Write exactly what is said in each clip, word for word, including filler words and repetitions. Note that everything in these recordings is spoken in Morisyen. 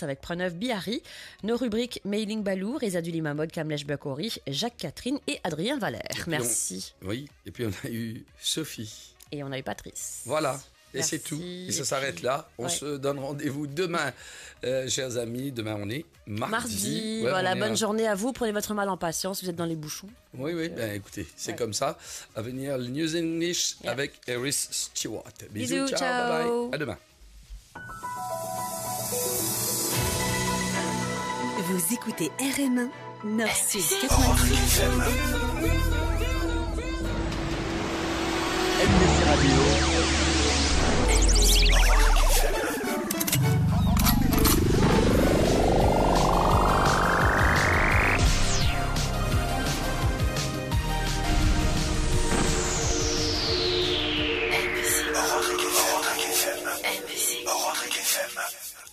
avec Pranav Bihari. Nos rubriques Mailing Balou, Reza Dulimamod, Kamlesh Bakori, Jacques Catherine et Adrien Valère. Et puis on Merci. Oui, et puis on a eu Sophie. Et on a eu Patrice. Voilà. Et c'est Merci. Tout. Et ça Et s'arrête puis, là. On ouais. Se donne rendez-vous demain, euh, chers amis. Demain, on est mardi. Mardi, Ouais, voilà, on est bonne un journée à vous. Prenez votre mal en patience, vous êtes dans les bouchons. Oui, oui, Ouais. Ben écoutez, c'est Ouais. Comme ça. À venir, le News English Yeah. Avec Eris Stewart. Bisous, Bisous, ciao, bye bye. Ciao. À demain. Vous écoutez R M un, Nord Sud quatre-vingt-dix. M B C Radio.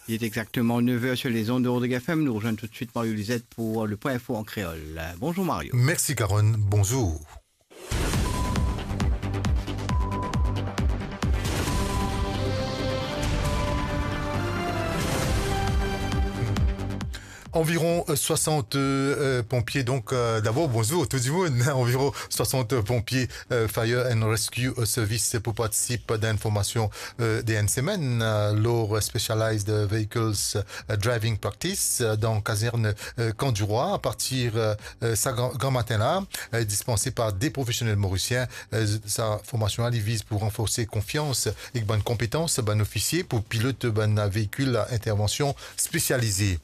Il est exactement neuf heures sur les ondes de Rodrigue F M. Nous rejoignons tout de suite Mario Lisette pour le point info en créole. Bonjour Mario. Merci Caron, bonjour. Environ, euh, soixante, euh, pompiers, donc, euh, d'abord, bonjour tout le monde. Environ soixante pompiers, euh, Fire and Rescue, euh, Service pour participer dans une formation, euh, de une semaine, euh, lor Specialized Vehicles, euh, Driving Practice, euh, dans caserne, euh, Camp du Roi, à partir, euh, euh, sa gran, gran matin la, euh, dispensé par des professionnels mauriciens. Euh, sa formation la, li viz pour renforcer confiance et bonne compétence, bann ofisier pour piloter bann véhicule à intervention spécialisée.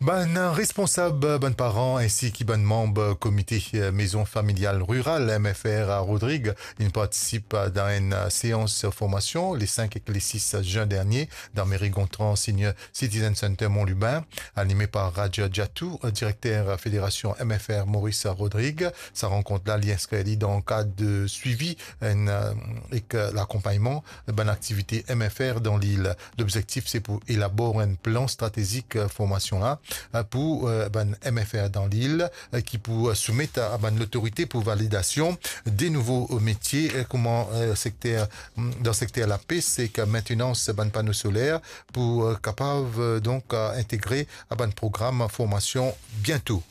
Bann responsab, bann paran, ainsi ki bann manb komite, euh, Maison Familiale Rurale, M F R, à Rodrigue, inn partisip dan enn, euh, séans formasion le cinq ek le six juin dernier dan meri Gontran Senior Citizen Center Mont Lubin, animé par Raja Jatou, euh, direkter Fédération M F R Maurice Rodrigue. Sa rankont la, li inskrir li dan kad de swivi enn, euh, ek, euh, lakonpagnman bann aktivite M F R dan lil. Lobzektif, se pou elabor enn plan stratezik, euh, formasion la, euh, pou, euh, bann M F R dan lil, euh, ki pou, euh, soumet a, a bann lotorite pou validasion de nouvo, euh, metie, euh, kouma, euh, sekter, mm, dan sekter lapes ek maintenans bann pano soler pou, euh, kapav, euh, donk, euh, integre a bann program formasion biento.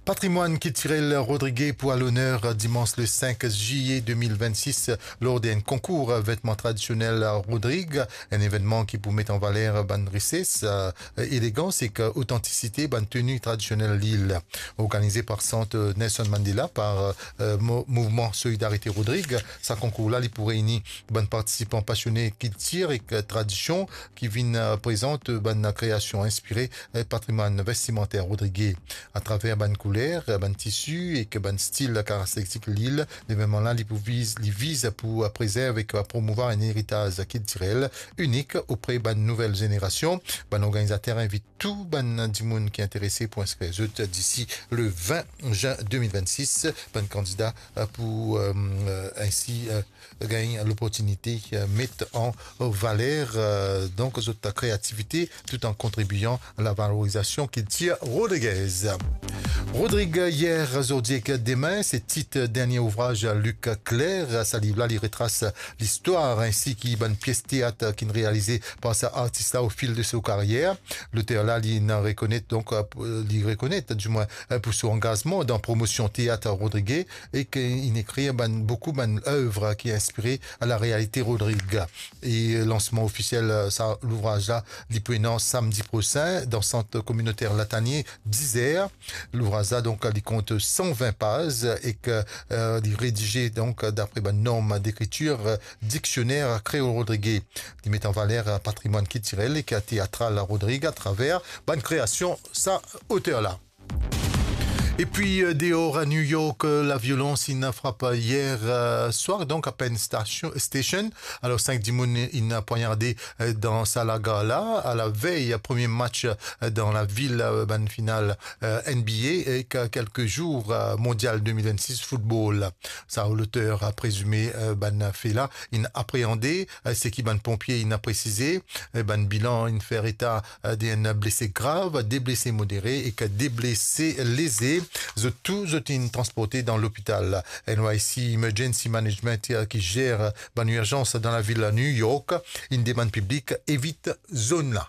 Patrimwann kiltirel rodrigé pou a loner dimans le cinq juillet deux mille vingt-six lor d'enn konkour vetman tradisionel Rodrig, enn evennman ki pou met an valer bann rises, euh, elegans ek otantisite bann teni tradisionel lil. Organize par Sant Nelson Mandela, par, euh, mo-, Mouvman Solidarite Rodrig, sa konkour la, li pou reyni bann partisipan pasione kiltir ek tradision ki vinn, euh, prezant bann kreasion inspire, euh, patrimwann vestimanter rodrigé. Atraver bann kouler, bann tisi ek bann stil karakteristik lil, levenman la, li pou viz, li viz pou prezerv ek promouvwar enn eritaz kiltirel inik opre bann nouvel zenerasion. Bann organizater invit tou bann dimoun ki interese pou inskrir zot disi le vingt juin deux mille vingt-six. Bann kandida, euh, pou, euh, euh, ainsi, euh, gagn loportinite, euh, met an valer, euh, donk zot kreativite, tout an kontribian a la valorizasion kiltir rodrigez. Rodrig, yer, zordi ek demin, se tit dernie ouvraz Luc Clair. Sa liv la, li retras listwar ainsi ki bann pies teat ki'nn realize par sa artis la o fil de so karier. Loter la, li inn rekonet, donk, euh, li rekonet, dimwin, euh, pou so angazman dan promosion teat rodrigé, e ki inn ekrir bann, boukou bann lev ki inspire a la realite Rodrig. E lansman ofisiel, euh, sa louvraz la, li pou ena samdi prosin dan sant kominoter Latanie, diz er. Louvraz la, donk, li kont san vin paz ek, euh, li redize, donk, dapre bann norm dekritir, euh, diksioner kreol rodrigé. Li met an valer, euh, patrimwann kiltirel ek teatral Rodrig atraver bann kreasion sa oter la. Epi, euh, deor a New York, euh, laviolans inn frap yer, euh, swar, donk a Penn Station, Station. Alor, sink dimoun inn pwagnarde, euh, dan sa lagar la, a lavey premie match, euh, dan lavil, euh, bann final, euh, N B A, ek kelke zour, euh, Mondial deux mille vingt-six football. Sa loter, euh, prezime, euh, bann fe la, inn apreande, euh, seki bann ponpie inn presize, euh, bann bilan inn fer eta, euh, de enn blese grav, de blese modere ek de blese leze. Zot tou, zot inn transporte dan lopital. N Y C Emergency Management, euh, ki zer bann irzans dan lavil New York, inn demann piblik evit zone la.